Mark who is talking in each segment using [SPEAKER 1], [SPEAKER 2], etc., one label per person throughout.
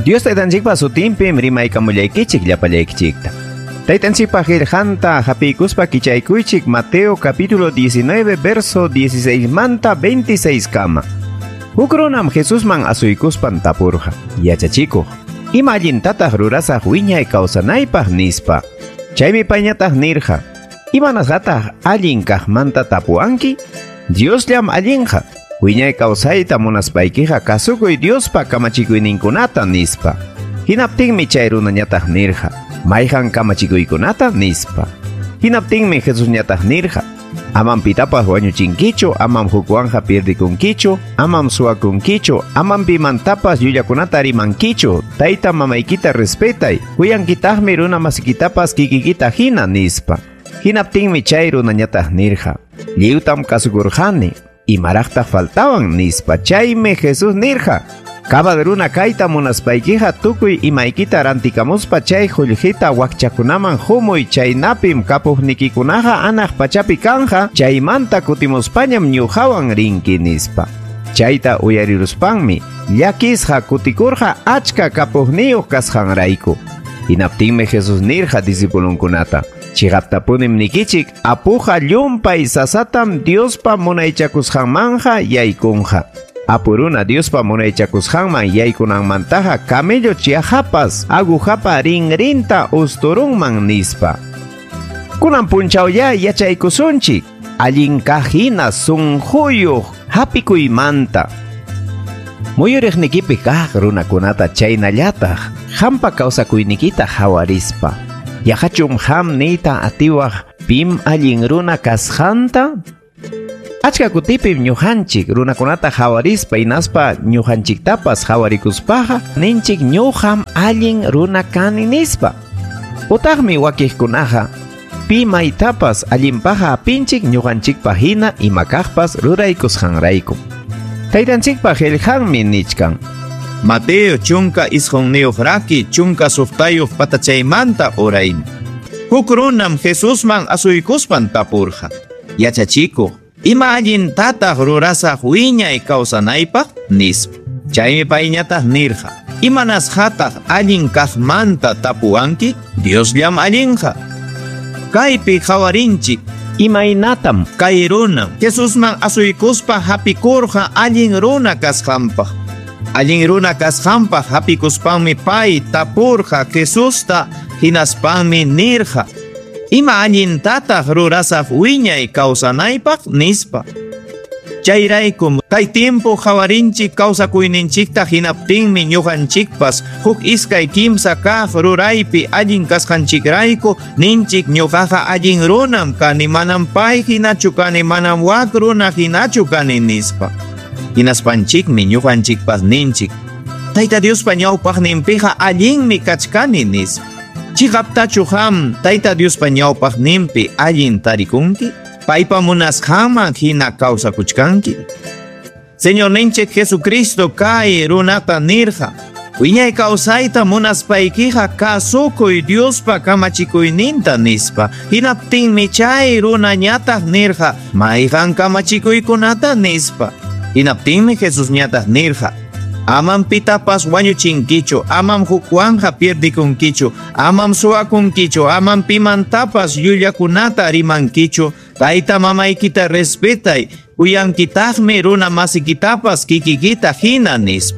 [SPEAKER 1] Dios taytanchikpa sutinpim rimaykamullaykichik llapallaykichikta. Taytanchikpa qillqanta hapiykuspa kichaykuychik Mateo capítulo 19 verso 16 manta 26 kama. Huk runam Jesusman asuykuspan tapurqa: "Yachachikuq, ima allintataq rurasaq wiñay kawsanaypaq?" nispa. Chaymi payñataq nirqa: "Imanasqataq allin kaqmanta tapuwanki? Diosllam allinqa. Wiñay kawsayta munaspaykiqa kasukuy Diospa kamachikuyninkunata" nispa. Hinaptinmi chay runañataq nirqa: "Mayqan kamachikuykunata?" nispa. Hinaptinmi Jesusñataq nirqa: "Amam pitapas wañuchinkichu, amam hukwanja pierdikunkichu, amam suwakunkichu, amam pimantapas llullakunata rimankichu, tayta mamaykita respetay, kuyankitaqmi runa masikitapas kikikita hina" nispa. Hinaptinmi chay runañataq nirqa: "Lliwtam kasukurqani, imaraqtaq faltawan?" nispa. Chaymi Jesús nirqa: "Cabal runa kayta munaspaykiqa tukuy imaykita rantikamuspa chay qullqita wakchakunaman humuy, chaynapim kapuqnikikunaqa anaq pachapi kanja, chaymanta kutimuspañam ñuqawan rinki" nispa. Chayta uyariruspanmi llakisqa kutikurqa achka kapuqniyuq kasqanrayku. Hinaptinmi Jesús nirqa discipulunkunata: "Chiqaptapunim nikichik, apuqa llumpay sasatam Diospa munaychakusqanmanja yaykunqa. Apuruna Diospa munaychakusqanman yaykunanmantaqa camello chiajapas agujapa rinrinta usturunman" nispa. Kunan punchawya yachaykusunchik allin kaq hina sunquyuq hapikuymanta. Muyuriqnikipi kaq runakunata chaynallataq hampa kawsakuynikita hawarispa. Yaqachum ham niyta atiwaq pim allin runa kasqanta? Achka kutipim ñuqanchik runakunata hawarispa hinaspa ñuqanchiktapas hawarikuspaqa ninchik ñuqam allin runa kani nispa. Utaqmi wakiqkunaqa pi maytapas allinpaqa apinchik ñuqanchikpa hina ima kaqpas ruraykusqanrayku. Taytanchikpa qillqanmi nichkan:
[SPEAKER 2] Mateo 19 raki 16 patachaymanta uraymi. Huk runam Jesusman asuykuspan tapurqa: "Yachachikuq, ima allintataq rurasaq wiñay kawsanaypaq?" nispa. Chaymi payñataq nirqa: "Imanasqataq allin kaqmanta tapuwanki? Diosllam allinqa. Kaypi qawarinchik
[SPEAKER 1] imaynatam
[SPEAKER 2] kay runam Jesusman asuykuspa hapikurqa allin runa kasqanpaq. Allin runa kasqanpaq hapikuspanmi pay tapurqa Jesusta, hinaspanmi nirqa: "Ima allintataq rurasaq wiñay kawsanaypaq?" nispa. Chayraykum kay tiempo qawarinchik kawsakuyninchikta hinaptinmi ñuqanchikpas huk iskay kimsa kaq ruraypi allin kasqanchikrayku ninchik ñuqaqa allin runam kani, manam pay hinachu kani, manam wak runa hinachu kani nispa. Hinaspanchikmi ñuqanchikpas ninchik: Tayta Diospa ñawpaqninpiqa allinmi kachkani nispa. Chiqaptachu qam Tayta Diospa ñawpaqninpi allin tarikunki? Paypa munasqanman hina kawsakuchkanki? Señorninchik Jesucristo kay runata nirqa: "Wiñay kawsayta munaspaykiqa kasukuy Diospa kamachikuyninta" nispa. Hinaptinmi chay runañataq nirqa: "Mayqan kamachikuykunata?" nispa. Hinaptinmi Jesusñataq nirqa: "Amam pitapas wañuchinkichu, amam hukwanja pierdikunkichu, amam suwakunkichu, amam pimantapas llullakunata rimankichu, tayta mamaykita respetay, kuyankitaqmi runa masikitapas kikikita hina" nispa.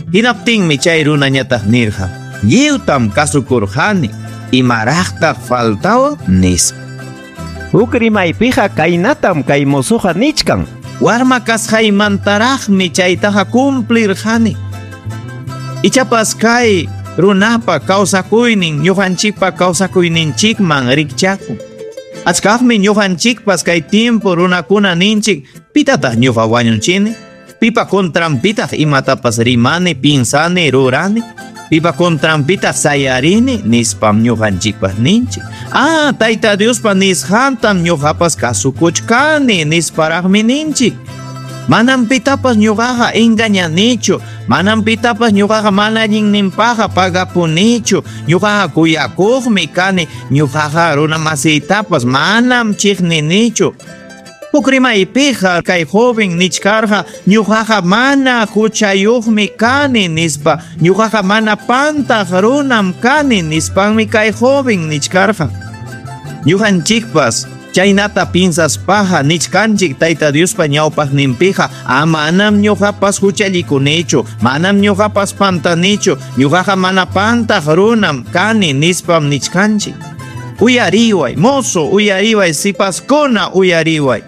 [SPEAKER 2] Hinaptinmi chay runañataq nirqa: "Lliwtam kasukurqani, imaraqtaq faltawan?" nispa.
[SPEAKER 1] Huk rimaypiqa kaynatam kay mozoqa nichkan:
[SPEAKER 2] Warma kasqaymantaraqmi chaytaqa cumplirqani. Ichapas kay runapa kawsakuynin ñuqanchikpa kawsakuyninchikman rikchakun. Achkaqmi ñuqanchikpas kay tiempo runakuna ninchik: pitataq ñuqa wañunchini? Pipa contranpitaq imatapas rimani, pinsani, rurani? Pipa contranpitaq sayarini? Nispam ñuqanchikpas ninchik. Ah, Tayta Diospa nisqantam ñuqapas kasukuchkani nisparaqmi ninchik. Manam pitapas ñuqaqa engañanichu, manam pitapas ñuqaqa mana allinninpaqqa pagapunichu, ñuqaqa kuyakuqmi kani, ñuqaqa runa masiytapas manam chiqninichu. Huk rimaypiqa kay joven nichkarqa ñuqaqa mana huchayuqmi kani nispa, ñuqaqa mana pantaq runam kani nispanmi kay joven nichkarqa. Ñuqanchikpas chaynata piensaspaqa nichkanchik Tayta Diospa ñawpaqninpiqa, manam ñuqapas huchallikunichu, manam ñuqapas pantanichu, ñuqaqa mana pantaq runam kani nispam nichkanchik. Uyariway, mozo, uyariway, sipaskuna, uyariway.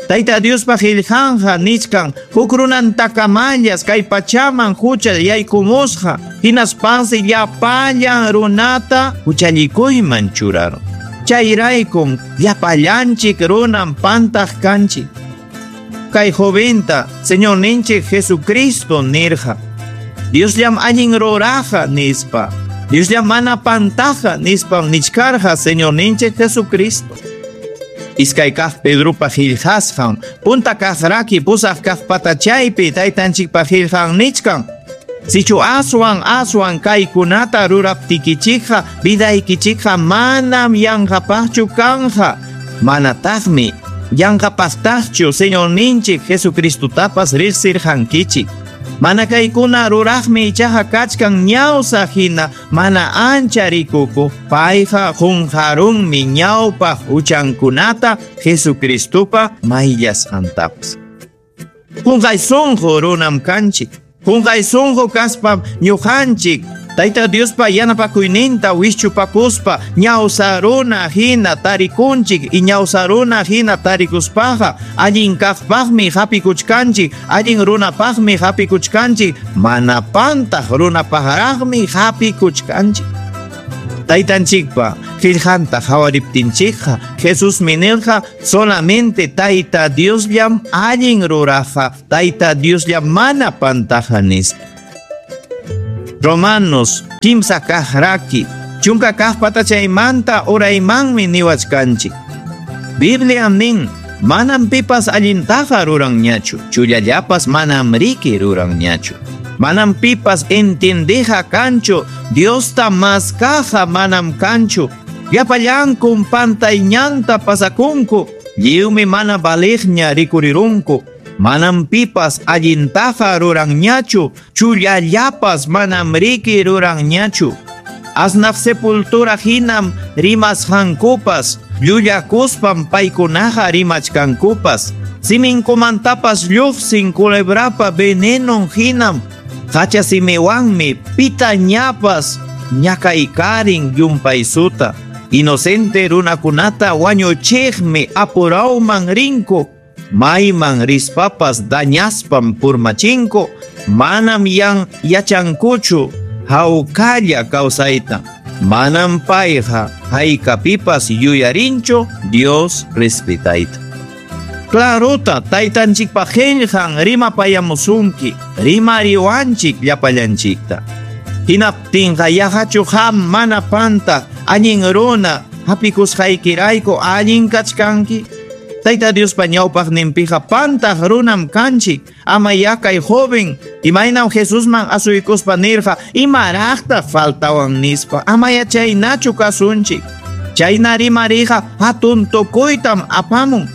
[SPEAKER 2] Tayta Diospa qillqanqa nichkan huk runantakamallas kay pachaman hucha yaykumusqa, hinaspansi llapallan runata huchallikuyman churarun. Chayraykum llapallanchik runam pantaq kanchik. Kay joventa Señorninchik Jesucristo nirqa, Diosllam allin ruraqa nispa, Diosllam mana pantaja nispam nichkarqa Señorninchik Jesucristo. Iskay kaq Pedropa qillqasqan, punta kaq raki pusaq kaq patachaypi taytanchikpa qillqan nichkan. Sichu aswan aswan kaykunata ruraptikichikqa vidaykichikqa manam yanqapaqchu kanja, manataqmi yanqapaqtaqchu Señorninchik Jesucristutapas riqsirqankichik. Mana kaykuna ruraqmi ichaqa kachkan ñawsa hina mana ancha rikukuq, payqa qunqarunmi ñawpaq huchankunata Jesucristopa mayllasqantapas. Qunqay sunqu runam kanchik. Qunqay sunqu kaspam ñuqanchik Tayta Diospa yanapakuyninta wischupakuspa ñawsa runa hina tarikunchik y ñawsa runa hina tarikuspaqa allin kaqpaqmi hapikuchkanchik, allin runapaqmi hapikuchkanchik, mana pantaq runapaqraqmi hapikuchkanchik. Taytanchikpa qillqanta qhawariptinchikqa Jesusmi nirqa solamente Tayta Diosllam allin ruraqqa, Tayta Diosllam mana pantaqa nispa. Romanos kimsa kaq raki, chunka kaq patachaymanta uraymanmi niwachkanchik. Bibliam nin, manam pipas allintaqa ruranñachu, chullallapas manam riki ruranñachu. Manam pipas entiendeja kanchu, Diosta maskaja manam kanchu. Llapallankum pantayñanta pasakunku, lliwmi mana valiqña rikurirunku. Manam pipas allintaqa ruranñachu, chullallapas manam riki ruranñachu. Asnaq sepultura hinam rimasqankupas, llullakuspam paykunaqa rimachkankupas. Siminkumantapas lluqsin culebrapa venenon hinam, hacha simiwanmi pitañapas ñakaykarin llumpaysuta. Inocente runakunata wañuchiqmi apurawman rinku, mayman rispapas dañaspam purmachinku, manam yan yachankuchu hawkalla kawsayta. Manam payqa haykapipas yuyarinchu Dios respetayta. Clarota taytanchikpa qillqan rimapayamusunki, rimariwanchik llapallanchikta. Hinaptinqa yaqachu qam mana panta allin runa hapikusqaykirayku allin kachkanki. Tayta Diospa ñawpaqninpiqa pantaq runam kanchik. Ama yakay joven imaynam Jesusman asuykuspa nirqa imaraqtaq faltawan nispa. Ama chaynachu kasunchik. Chayna rimariqa hatun tukuytam apamun.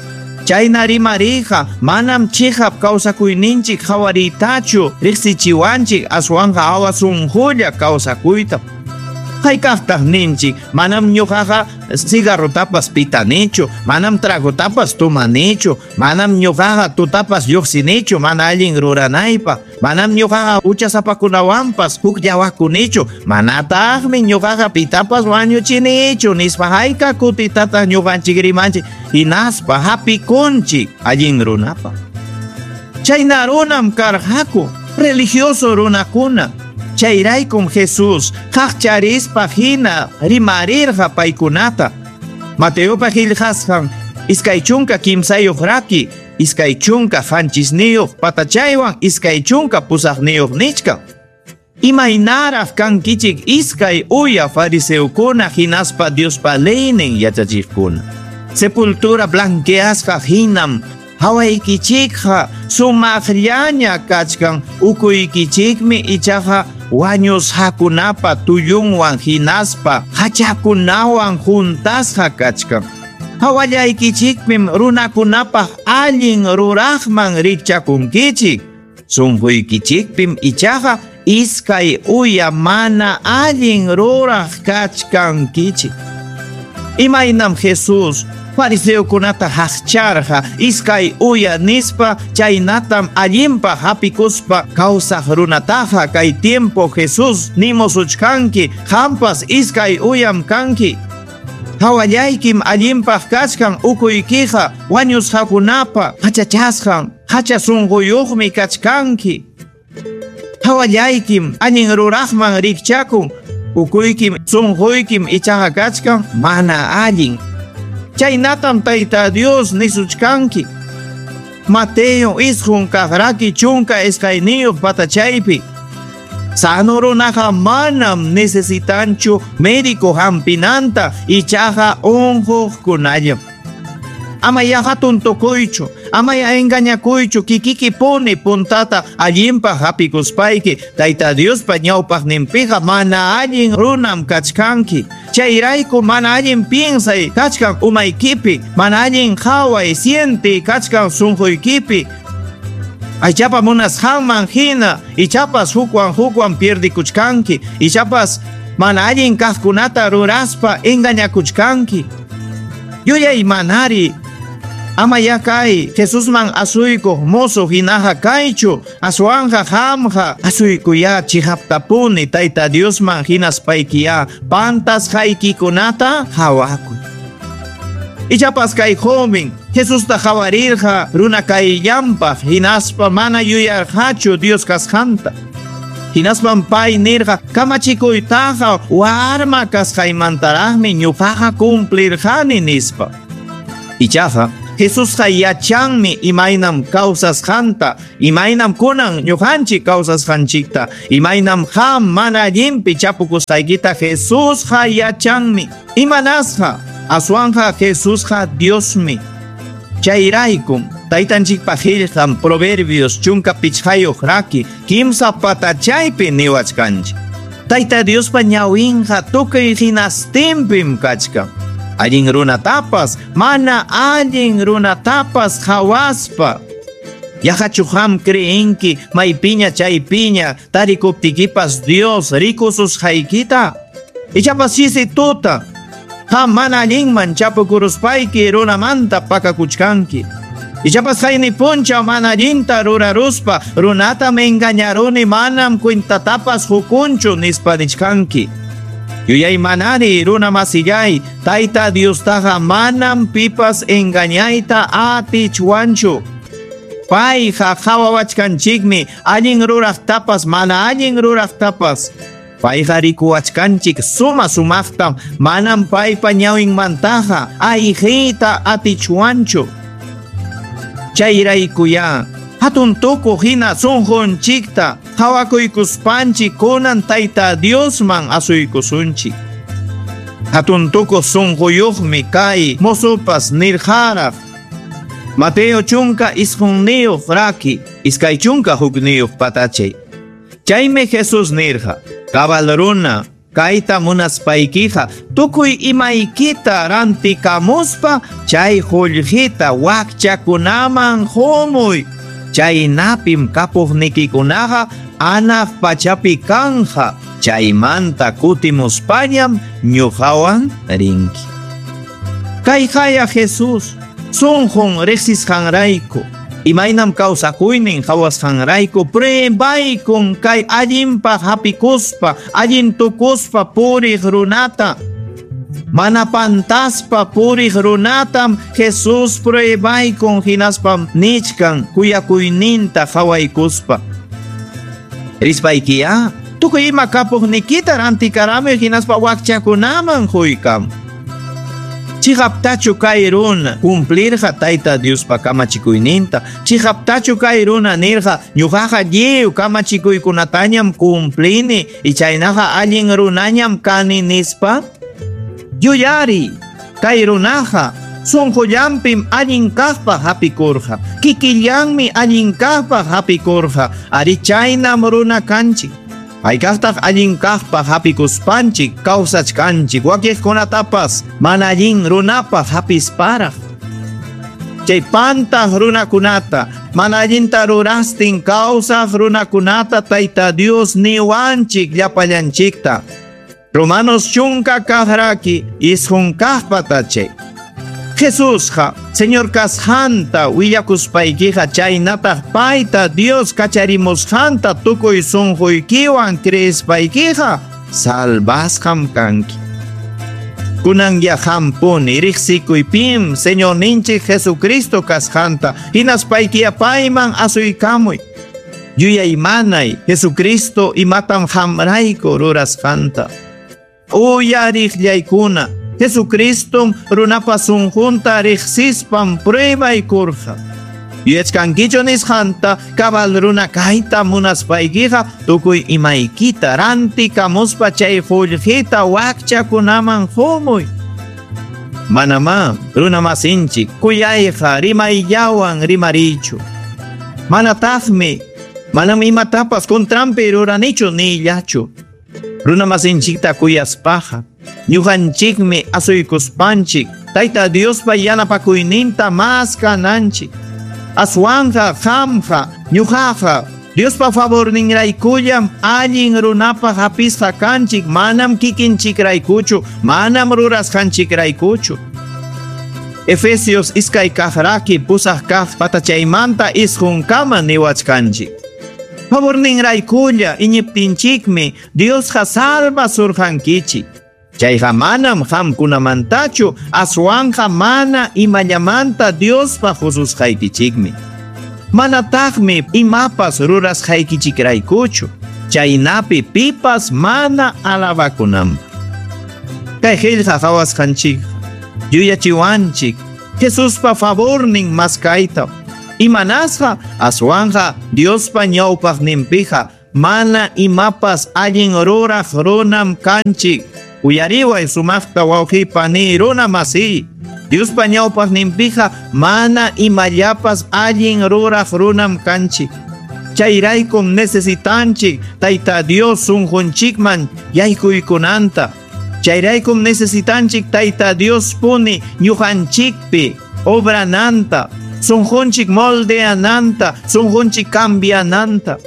[SPEAKER 2] Chayna rimariqa manam chiqap kawsakuyninchik qhawariytachu riqsichiwanchik, aswanqa awasunqulla kawsakuytam. Haykaqtaq ninchik, manam ñuqaqa cigarrotapas pitanichu, manam tragotapas tumanichu, manam ñuqaqa tutapas lluqsinichu mana allin ruranaypaq, manam ñuqaqa huchasapakunawanpas hukllawakunichu, manataqmi ñuqaqa pitapas wañuchinichu nispa hayka kutitataq ñuqanchik rimanchik, hinaspa hapikunchik allin runapaq. Chayna runam karqaku religioso runakuna. Chayraykum Jesús qaqcharispa hina rimarirqa paykunata. Mateopa qillqasqan 23 raki, 27 patachaywan 28 nichkan. Imaynaraq kankichik iskay uya fariseokuna hinaspa Diospa leynin yachachiqkuna. Sepultura blanqueasqa hinam hawaykichikqa sumaqllaña kachkan, ukuykichikmi ichaqa wañusqakunapa tullunwan hinaspa hachakunawan juntasqa kachkan. Hawallaykichikpim runakunapaq allin ruraqman rikchakunkichik. Sunquykichikpim ichaqa iskay uya mana allin ruraq kachkankichik. Imaynam Jesus fariseokunata haqcharqa iskay uya nispa chaynatam allinpaq hapikuspa kawsaq runataqa kay tiempo Jesus nimusuchkanki qampas iskay uyam kanki. Hawallaykim allinpaq kachkan ukuykiqa wañusqakunapa hachachasqan hacha sunquyuqmi kachkanki. Hawallaykim allin ruraqman rikchakun ukuykim sunquykim ichaqa kachkan mana allin. Chaynatam Tayta Dios nisuchkanki. Mateo isqun kaqraki 12 patachaypi. Sano runaqa manam necesitanchu médico hampinanta ichaqa unquqkunallam. Amaya hatun tukuychu, amaya engañakuychu kikiki puni puntata allinpaq hapikuspayki Tayta Diospa ñawpaqninpiqa mana allin runam kachkanki. Chayrayku mana allin piensay kachkan umaykipi, mana allin qhaway siente kachkan sunquykipi. Aychapa munasqanman hina, ichapas hukwan pierdikuchkanki, ichapas mana allin kaqkunata ruraspa engañakuchkanki. Yuyay manari, amaya kay Jesusman asuykuq mozo hinaqa kaychu, aswanja qamqa asuykuya chihaptapuni Tayta Diosman hinaspaykiya pantasqaykikunata hawakuy. Ichapas kay joven Jesusta hawarirqa runa kayllanpaq hinaspa mana yuyarqachu Dios kasqanta. Hinaspam pay nirqa kamachikuytaqa warma kasqaymantaraqmi ñuqaqa cumplirqani nispa. Ichaqa Jesusqa yachanmi imaynam kawsasqanta, imaynam kunan ñuqanchik kawsasqanchikta, imaynam qam mana allinpi chapukusqaykita Jesusqa yachanmi. Imanasqa aswanja Jesusqa Diosmi. Chayraykum taytanchikpa qillqan Proverbios 15 raki 3 patachaypi niwachkanchik. Tayta Diospa ñawinqa tukuy hinastinpim kachkan. Allin runatapas, mana allin runatapas hawaspa. Yaqachu qam creenki maypiña chaypiña tarikuptikipas Dios rikususqaykita. Ichapas chisi tuta qam mana allinman chapukuruspayki runamanta pakakuchkanki. Ichapas qayni punchaw mana allinta ruraruspa runatam engañaruni manam cuentatapas hukunchu nispa nichkanki. Yuyay manari runa masillay Tayta Diostaqa manam pipas engañayta atichwanchu. Payqa qhawawachkanchikmi allin ruraqtapas mana allin ruraqtapas. Payqa rikuwachkanchik suma sumaqtam manam paypa ñawinmantaqa ayqiyta atichwanchu. Chayraykuya hatun tukuq hina sunqunchikta qhawakuykuspanchik kunan Tayta Diosman asuykusunchik. Hatun tukuq sunquyuqmi kay mozupas nirqaraq. Mateo 19 raki 21 patachay. Chaymi Jesus nirqa, cabal runa kayta munaspaykiqa tukuy imaykita rantikamuspa chay qullqita wakchakunaman qumuy. Chaynapim kapuqnikikunaqa anaq pachapi kanja. Chaymanta kutimuspañam ñuqawan rinki. Kayqaya Jesus sunqun riqsisqanrayku imaynam kawsakuynin qhawasqanrayku pruebaykun kay allinpaq hapikuspa allin tukuspa puriq runata. Mana pantaspa puriq runatam Jesus pruebaykun hinaspam nichkan kuyakuyninta qhawaykuspa. Rispaykiya tukuy ima kapuqnikita rantikaramuy hinaspa wakchakunaman quykam. Chiqaptachu kay runa cumplirqa Tayta Diospa kamachikuyninta. Chiqaptachu kay runa nirqa ñuqaqa lliw kamachikuykunatañam cumplini ichaynaqa allin runañam kani nispa. Yuyari kay runaqa sunqullanpim allin kaqpaq hapikurqa. Kikillanmi allin kaqpaq hapikurqa. Ari chaynam runa kanchik. Haykaqtaq allin kaqpaq hapikuspanchik kawsachkanchik wakiqkunatapas mana allin runapaq hapisparaq. Chay pantaq runakunata, mana allinta rurastin kawsaq runakunata Tayta Dios niwanchik llapallanchikta. Romanos 12 kaq 9 kaq patachay. Jesusqa Señor kasqanta willakuspaykiqa chaynataq payta Dios kacharimusqanta tukuy sunquykiwan creespaykiqa salvasqam kanki. Kunanya hampuni riqsikuypim Señorninchik Jesucristo kasqanta hinaspaykiya payman asuykamuy. Yuyaymanay Jesucristo imatam hamrayku rurasqanta. Uyariqllaykuna Jesucristom runapa sunqunta riqsispam pruebaykurqa. Yuyachkankichu nisqanta cabal runa kayta munaspaykiqa tukuy imaykita rantikamuspa chay qullqita wakchakunaman qumuy. Manamá runa masinchik kuyayqa rimayllawan rimariychu. Manataqmi manam imatapas contranpi ruranichu nillachu. Runa masinchikta kuyaspaqa ñuqanchikmi asuykuspanchik Tayta Diospa yanapakuyninta mas kananchik. Aswanqa qamqa ñuqaqa Diospa favorninraykullam allin runapaq hapisqa kanchik manam kikinchikraykuchu manam rurasqanchikraykuchu. Efesios 2 kaq raki 8 kaq patachaymanta 9 kama niwachkanchik. Favorninraykulla iñiptinchikmi Diosqa salvasurqankichik. Chayqa manam qamkunamantachu aswanqa mana imallamanta Diospa hususqaykichikmi. Manataqmi imapas rurasqaykichikraykuchu chaynapi pipas mana alabakunanpaq. Kay qillqa qhawasqanchikqa yuyachiwanchik Jesuspa favornin maskayta. Imanasqa aswanqa Diospa ñawpaqninpiqa mana imapas allin ruraq runam kanchik. Uyariway sumaqta wawqipani runa masiy. Diospa ñawpaqninpiqa mana imallapas allin ruraq runam kanchik. Chayraykum necesitanchik Tayta Dios sunqunchikman yaykuykunanta. Chayraykum necesitanchik Tayta Dios puni ñuqanchikpi obrananta, sunqunchik moldeananta, sunqunchik cambiananta.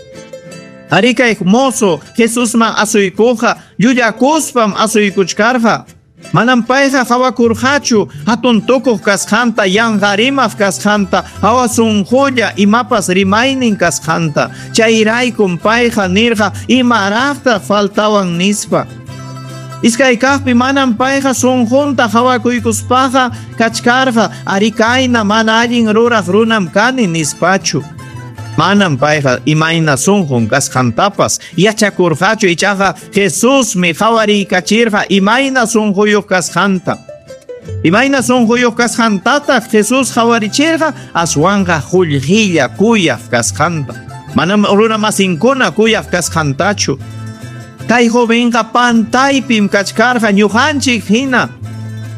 [SPEAKER 2] Arikay mozo Jesusman asuykuqa llullakuspam asuykuchkarqa. Manam payqa qawakurqachu hatun tukuq kasqanta, yanqarimaq kasqanta, hawa sunqulla imapas rimaynin kasqanta. Chayraykum payqa nirqa imaraqtaq faltawan nispa. Iskay kaqpi manam payqa sunqunta qawakuykuspaqa kachkarqa arikayna mana allin ruraq runam kani nispachu. Manam payqa imayna sunqun kasqantapas yachakurqachu ichaqa Jesusmi qhawariykachirqa imayna sunquyuq kasqanta. Imayna sunquyuq kasqantataq Jesús qhawarichirqa aswanqa qullqilla kuyaq kasqanta. Manam runa masinkuna kuyaq kasqantachu. Kay jovenqa pantaypim kachkarqa ñuqanchik hina.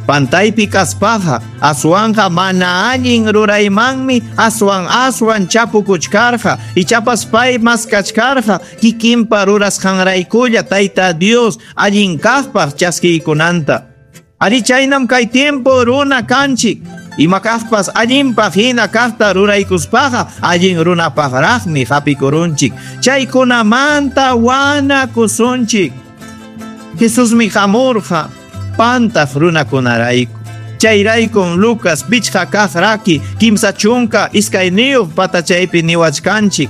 [SPEAKER 2] Pantaypi kaspaqa aswanqa mana allin ruraymanmi aswan aswan chapukuchkarqa ichapas pay maskachkarqa kikinpa rurasqanraykulla Tayta Dios allin kaqpaq chaskiykunanta. Ari chaynam kay tiempo runa kanchik. Ima kaqpas allinpaq hina kaqta ruraykuspaqa allin runapaqraqmi hapikurunchik. Chaykunamanta wanakusunchik. Jesusmi hamurqa pantaq runakunarayku. Chayraykum Lucas 5 kaq raki 32 patachaypi niwachkanchik.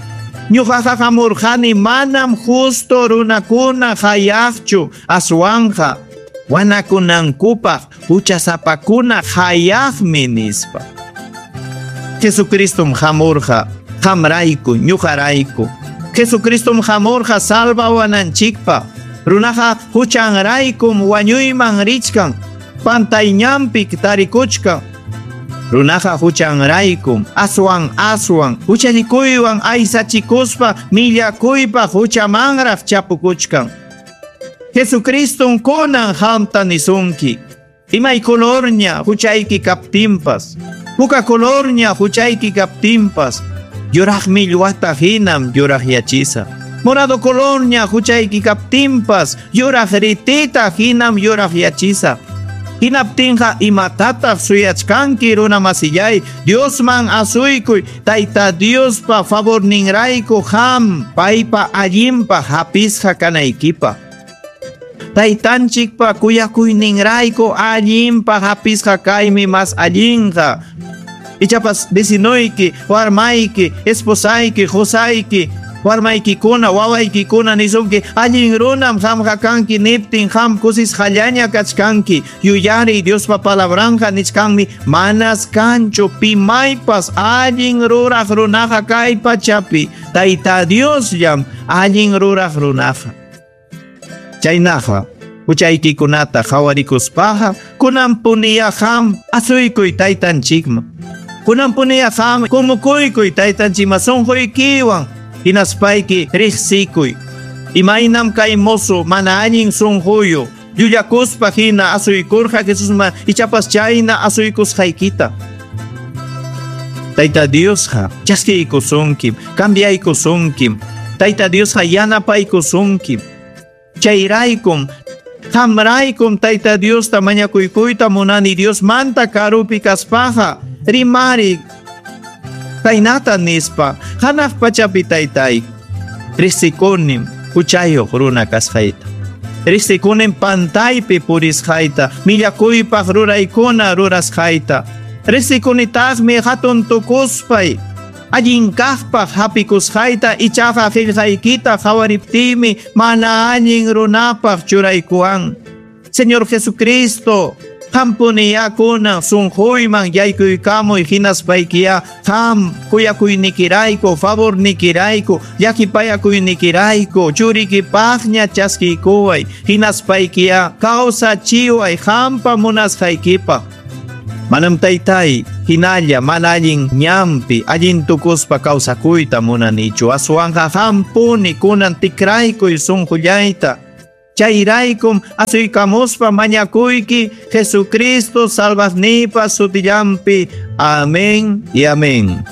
[SPEAKER 2] Ñuqaqa hamurqani manam justo runakuna hayaqchu aswanqa wanakunankupaq huchasapakuna hayaqmi nispa. Jesucristom hamurqa qamrayku ñuqarayku. Jesucristom hamurqa salvawananchikpaq. Runaqa huchanraykum wañuyman richkan, pantayñanpi tarikuchkan. Runaqa huchanraykum aswan aswan huchallikuywan aysachikuspa millakuypaq huchamanraq chapukuchkan. Jesucristom kunan qamta nisunki. Imay colorña huchayki kaptinpas, puka colorña huchayki kaptinpas, yuraq millwata hinam yuraqyachisa. Morado colorña huchayki kaptinpas yuraq ritita hinam yuraqyachisaq. Hinaptinqa imatataq suyachkanki runa masillay, Diosman asuykuy, Tayta Diospa favorninrayku qam paypa allinpaq hapisqa kanaykipaq. Taytanchikpa kuyakuyninrayku allinpaq hapisqa kaymi mas allinqa. Ichapas vecinoyki, warmayki, esposayki, qusayki, warmaykikuna, wawaykikuna nisunki, allin runam qamqa kanki niptin qam kusisqallaña kachkanki. Yuyariy Diospa palabranqa nichkanmi manas kanchu pimaypas allin ruraq runaqa kay pachapi. Tayta Diosllam allin ruraq runaqa. Chaynaqa huchaykikunata qhawarikuspaqa kunanpuniya qam asuykuy taytanchikman. Kunanpuniya qam kumukuykuy taytanchikman sunquykiwan hinaspayki riqsikuy. Imaynam kay mozo mana allin sunquyu llullakuspa hina asuykurqa Jesusman ichapas chayna asuykusqaykita. Tayta Diosqa chaskiykusunkim, cambiaykusunkim. Tayta Diosqa yanapaykusunkim. Chayraykum qamraykum Tayta Diosta mañakuykuyta munani Diosmanta karupi kaspaqa rimari kaynata nispa hanaq pachapi taytay riqsikunim huchayuq runa kasqayta. Riqsikunim pantaypi purisqayta, millakuypaq ruraykuna rurasqayta. Riqsikunitaqmi hatun tukuspay allin kaqpaq hapikusqayta ichaqa qillqaykita qhawariptiymi mana allin runapaq churaykuwan. Señor Jesucristo, qampuniya kunan sunquyman yaykuykamuy hinaspaykiya qam kuyakuynikirayku, favornikirayku, llakipayakuynikirayku, churikipaqña chaskiykuway, hinaspaykiya kawsachiway qampa munasqaykipaq. Manam taytay hinalla mana allin ñanpi allin tukuspa kawsakuyta munanichu, aswanqa qampuni kunan tikraykuy sunqullayta. Chayraykum asuykamuspa mañakuyki Jesucristo salvaqniypa sutillanpi. Amén y amén.